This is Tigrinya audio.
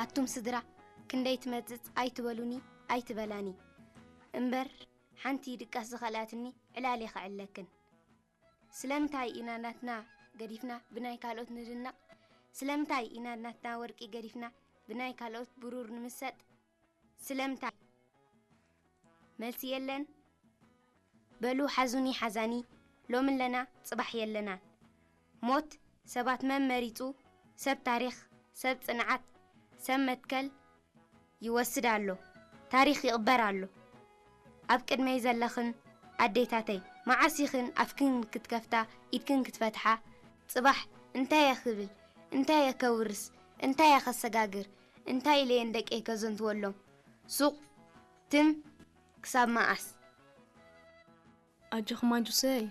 ኣቱም ስድራ፣ ክንደይ ትመጽጽ ኣይትበሉኒ ኣይትበላኒ እምበር፣ ሓንቲ ድቃስ ዝኸልኣትኒ ዕላል የኸዕለክን። ስለምንታይ ኢና ናትና ገዲፍና ብናይ ካልኦት ንድነቕ? ስለምንታይ ኢና ናትና ወርቂ ገዲፍና ብናይ ካልኦት ብሩር ንምሰጥ? ስለምንታይ? መልሲ የለን። በሉ ሓዙኒ ሓዛኒ፣ ሎሚ ኣለና ጽባሕ የለና። ሞት ሰባት መን መሪጹ? ሰብ ታሪኽ፣ ሰብ ጽንዓት፣ ሰብ መትከል ይወስድ ኣሎ። ታሪኽ ይቕበር ኣሎ። ኣብ ቅድመይ ዘለኽን ኣዴታተይ፣ መዓስ ኢኽን ኣፍክን ክትከፍታ፣ ኢድክን ክትፈትሓ? ጽባሕ እንታይ እየ ክብል? እንታይ እየ ከውርስ? እንታይ እየ ከሰጋግር? እንታይ ኢለ እየ ንደቀይ ከዘንትወሎም? ሱቕ ትም ክሳብ መዓስ? ኣጆኹም ኣጁሰይ፣